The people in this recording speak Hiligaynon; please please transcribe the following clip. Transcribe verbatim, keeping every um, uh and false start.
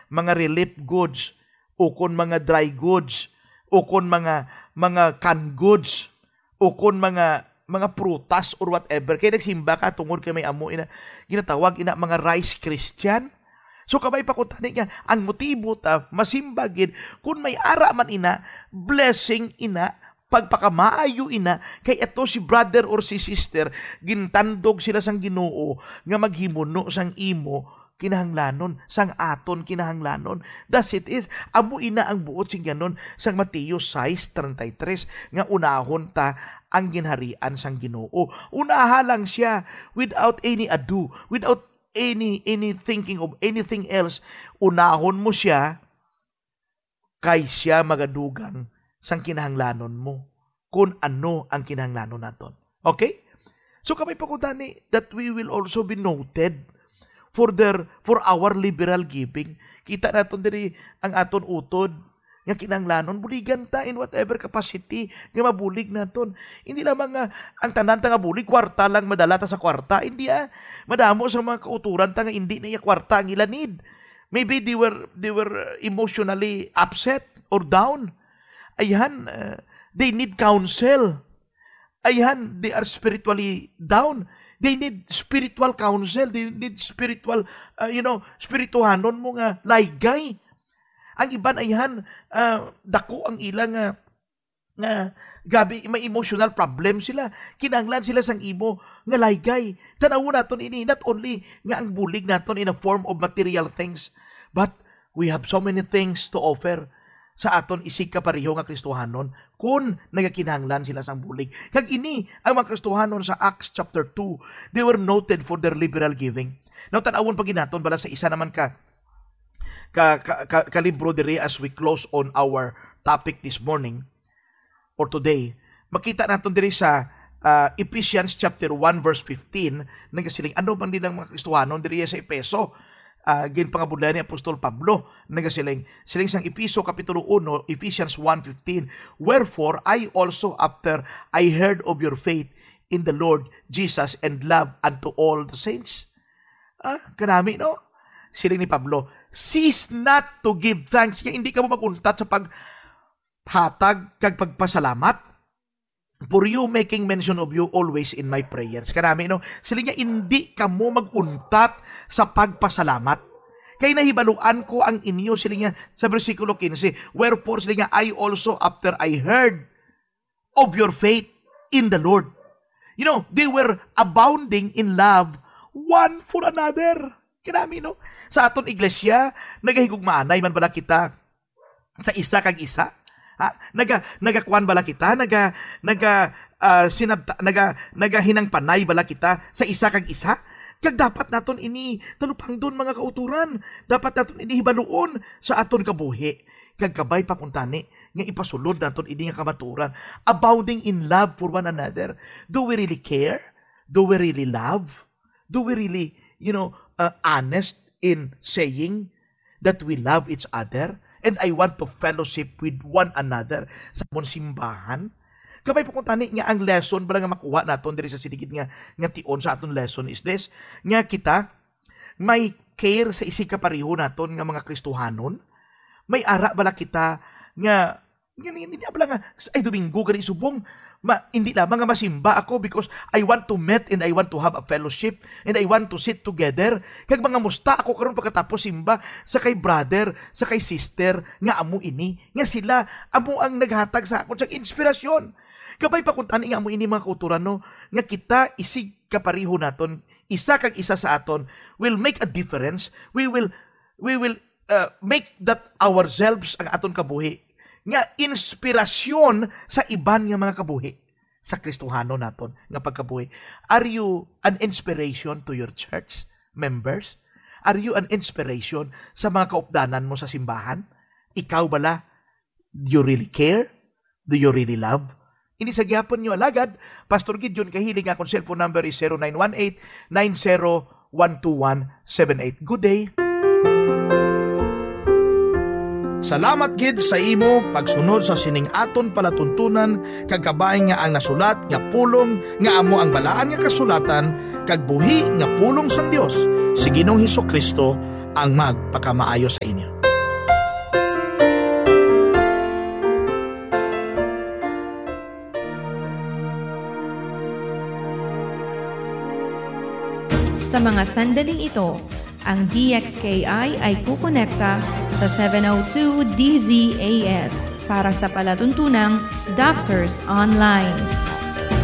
mga relief goods, ukon mga dry goods, ukon mga, mga canned goods, ukon mga, mga prutas or whatever. Kay nagsimba ka tungod kay may amo ina, ginatawag ina mga rice Christian. So, kabay pa ko tani nga, ang motibo ta, masimba gid, kun may ara man ina, blessing ina, pagpakamaayo ina, kay ato si brother or si sister, gintandog sila sang Ginoo nga maghimuno sang imo kinahanglanon, sang aton kinahanglanon. Thus it is, amo ina ang buot sing yanon sang Mateo sais treinta y tres, nga unahon ta ang ginharian sang Ginoo. Unaha lang siya, without any ado, without any, any thinking of anything else. Unahon mo siya, kay siya magadugang sang kinahanglanon mo, kun ano ang kinahanglanon naton. Okay? So, kabay pa ko tani that we will also be noted for their, for our liberal giving. Kita naton diri ang aton utod nga kinahanglanon, buligan ta in whatever capacity nga mabulig naton. Hindi lamang nga ang tanan ta nga bulig, kwarta lang madala ta sa kwarta. Hindi, ah. Madamo sa mga kauturan ta nga hindi na iya kwarta ang ila need. Maybe they were, they were emotionally upset or down. Ayhan, uh, they need counsel. Ayhan, they are spiritually down. They need spiritual counsel. They need spiritual, uh, you know, spirituhanon mo nga laygay. Ang iban, ayhan, uh, dako ang ila nga, nga gabi, may emotional problem sila. Kinahanglan sila sang imo nga laygay. Tan-awon naton ini, not only nga ang bulig naton in a form of material things, but we have so many things to offer sa aton isigkapareho nga Kristohanon kun nagakinahanglan sila sang bulig. Kag ini ang mga Kristohanon sa Acts chapter two, they were noted for their liberal giving. Now, tan-awon pa gid naton bala sa isa naman ka, ka, ka, ka, ka libro diri as we close on our topic this morning or today. Makita naton diri sa, ah, Ephesians chapter one verse fifteen, nagasiling, ano man nilang mga Kristohanon diri sa Efeso? Ah, ginpangabudlayan ni Apostol Pablo, nagasiling, siling sang Efeso kapitulo uno, Ephesians one fifteen, "Wherefore I also, after I heard of your faith in the Lord Jesus and love unto all the saints." Ah, kanami, no? Siling ni Pablo, "Cease not to give thanks." Kaya hindi ka mo mag-untat sa paghatag kag pagpasalamat. "For you, making mention of you always in my prayers." Kanami, no? Siling niya, "Hindi kamo mag-untat sa pagpasalamat. Kay nahibaluan ko ang inyo," siling niya sa bersikulo quince, "Wherefore," siling niya, "I also, after I heard of your faith in the Lord." You know, they were abounding in love one for another. Kanami, no? Sa aton iglesia, nagahigugmaanay man bala kita sa isa kag isa? Ha? Naga-, nagakuan bala kita? Naga-, naga-, ah, sinabta-, naga-, nagahinangpanay bala kita sa isa kag isa? Kag dapat naton ini talupangdon, mga kauturan. Dapat naton ini hibaluon sa aton kabuhi. Kag kabay pa kuntani nga ipasulod naton ini nga kamatuoran. Abounding in love for one another. Do we really care? Do we really love? Do we really, you know, uh, honest in saying that we love each other? And I want to fellowship with one another sa amon simbahan. Kabay pa kuntani nga ang lesson bala nga makuha naton diri sa siligid nga, nga tion sa aton lesson is this, nga kita may care sa isigkapareho naton nga mga Kristohanon? May ara bala kita nga, nga, nga, nga, bala nga, "Ay, Domingo gani subong, ma-, hindi lamang nga masimba ako because I want to meet and I want to have a fellowship and I want to sit together. Kag mangamusta ako karon pagkatapos simba sa kay brother, sa kay sister nga amo ini, nga sila amo ang naghatag sa akon sa inspirasyon." Kabay pa kuntani nga amo ini, mga kauturan, no, nga kita isig kapareho naton, isa kag isa sa aton, will make a difference. We will, we will, uh, make that ourselves ang aton kabuhi nga inspirasyon sa iban nga mga kabuhi sa Kristohanon naton nga pagkabuhi. Are you an inspiration to your church members? Are you an inspiration sa mga kaupdanan mo sa simbahan? Ikaw bala, do you really care? Do you really love? Ini sa gihapon nyo, alagad, Pastor Gideon Kahiling, akong cellphone number is zero nine one eight, nine zero one two one seven eight. Good day. Salamat gid sa imo pagsunod sa sining aton palatuntunan, kag kabay nga ang nasulat nga pulong nga amo ang Balaan nga Kasulatan kag buhi nga pulong sang Dios si Ginoong Jesu-Cristo ang magpakamaayo sa inyo. Sa mga sandaling ito, ang D X K I ay kukonekta sa seven oh two D Z A S para sa palatuntunang Doctors Online.